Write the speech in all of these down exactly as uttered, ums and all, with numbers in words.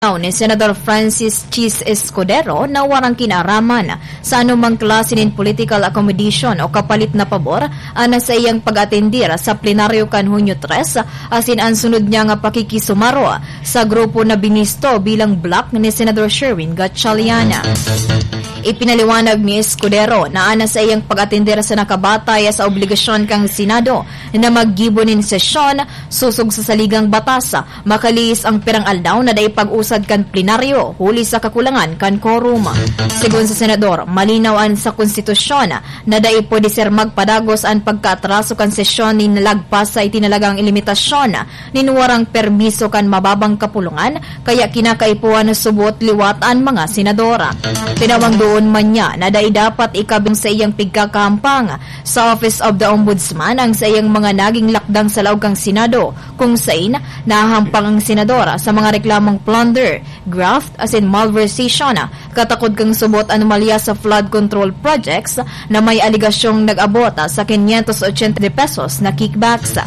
ni Senador Francis Chiz Escudero na warang kinaraman sa anumang klase nin political accommodation o kapalit na pabor an saiyang pag-atendir sa plenaryo kan Hunyo tres, asin an sunod niya nga pakikisumaro sa grupo na binisto bilang bloc ni Senador Sherwin Gatchalian. Ipinaliwanag ni Escudero na an saiyang pag-atender sa nakabatay sa obligasyon kan Senado na maggibo nin sesyon sosog sa saligang batas, makalihis ang pirang aldaw na dai pag-usad kan plenaryo huli sa kakulangan kan quorum. Sigon sa senador, malinaw an sa konstitusyon na dai pwede ser magpadagos an pagkaatraso kan sesyon nin lagpas sa itinalagang limitasyon nin warang permiso kan mababang kapulungan, kaya kinakaipuhan na subot liwat an mga senador. Tinawang doon man niya na dai dapat ikabing sa iyang pigkakahampang sa Office of the Ombudsman ang sa iyang mga naging lakdang sa laog kan Senado, kung sain nahahampang ang senador sa mga reklamong plunder, graft, asin malversation, katakod kan subot anomalya sa flood control projects na may aligasyong nag-abot sa quinientos ochenta de pesos na kickbacks.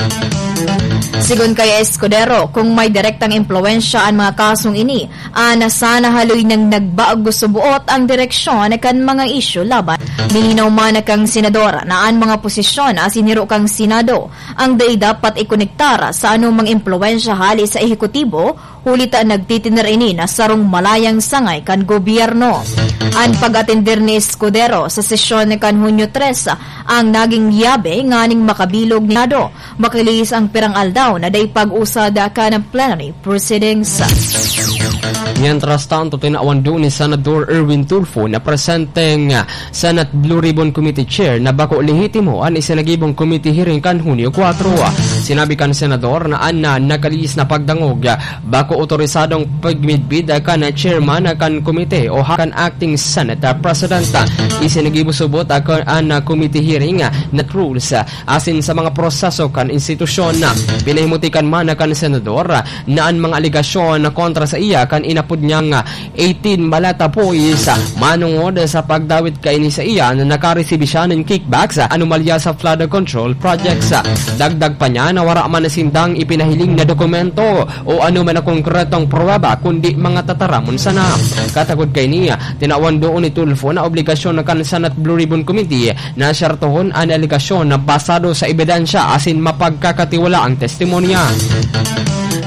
Sigon kay Escudero, kung may direktang impluwensya an mga kasong ini, ana sana haloy nang nagbago subuot ang direksyon kan mga isyu laban. Mininaw man kan senador na an mga posisyon asin hiro kan Senado ang dai dapat ikonektar sa anumang impluwensya hali sa ehekutibo, huli ta nagtitiner ini na sarong malayang sangay kan gobyerno. An pag-atender ni Escudero sa sesyon kan Hunyo tres ang naging yabe nganing makabilog ni Senado, makalihis ang pirang aldaw na dai pag-usad kan plenary proceedings. Mientras tanto, tinawan doon ni Senador Erwin Tulfo na presenteng Senate Blue Ribbon Committee Chair na bako lehitimo an isinagibong committee hearing kan Hunyo kwatro. Sinabi kan senador na an na nakalihis na pagdangog, bako otorisadong pagmidbid kan chairman kan komite o ha-, kan acting Senate President. Isinagibo subot kan an committee hearing na rules asin sa mga proseso kan institusyon. Pinahimutikan man kan senador na an mga alegasyon kontra sa iya kan inapod niyang eighteen Maleta Boys, manongod sa pagdawit kaini saiya na nakaresibi siya nin kickbacks, anomalya sa flood control projects. Dagdag pa niya na wara man sindang ipinahiling na dokumento o ano man na konkretong pruweba, kundi mga tataramon sana. Katakod kaini, tinawan doon ni Tulfo na obligasyon kan Senate Blue Ribbon Committee na sertohon an alegasyon na basado sa ebidensya asin mapagkakatiwalaang testimonya.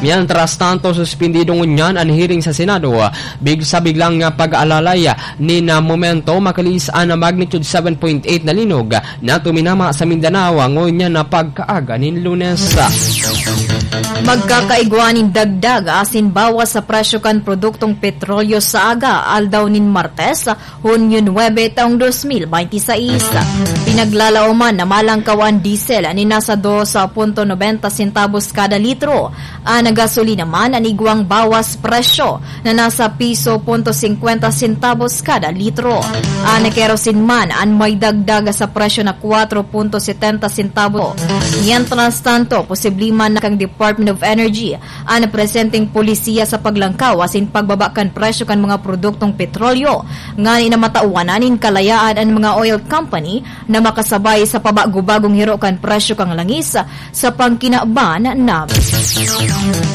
Mientras tanto, suspindido ngunyan an hearing sa Senado. Big-, sa biglang, ah, pag-aalalay, ah, nin, ah, momento, makalihis an magnitude seven point eight na linog, ah, na tuminama sa Mindanao, ah, ngunyan na pagkaaga nin Lunes. Magkakaigwa nin dagdag asin bawas sa presyo kan produktong petrolyo sa aga, aldaw nin Martes, Hunyo nuebe, taong dos mil bente seis. Pinaglalaoman na malangkaw an diesel nin nasa dos punto nobenta centavos kada litro. An gasolina man an igwang bawas presyo na nasa piso punto singkwenta centavos kada litro. An kerosene man an may dagdag sa presyo na kwatro punto setenta centavos. Mientras tanto, posible man na kan Department of Energy an presenteng polisiya sa paglangkaw asin pagbaba kan presyo kan mga produktong petrolyo, ngani na matawan na nin kalayaan an mga oil company na makasabay sa pabago-bagong hiro kan presyo kan langis sa pangkinaban na.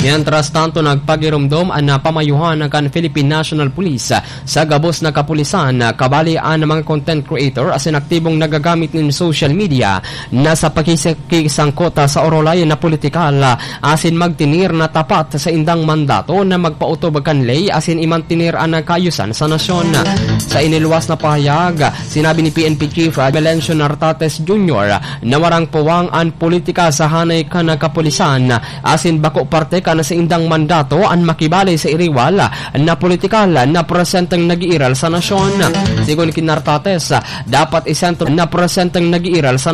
Mientras tanto, nagpagiromdom an pamayuhan kan Philippine National Police sa gabos na kapulisan, kabali an mga content creator asin aktibong nagagamit nin social media na sa pakisakisangkot sa orolay na politikal, asin magtinir na tapat sa indang mandato na magpaotob kan ley asin imantinir an kaayusan sa nasyon. Sa iniluwas na pahayag, sinabi ni P N P Chief Melencio Nartates Junior na warang puwang an politika sa hanay kan kapulisan, asin bako parte kan saindang mandato an makibali sa iriwal na politikal na presenteng nag-iiral sa nasyon. Sigon ki Nartates, dapat isentro na presenteng nag-iiral sa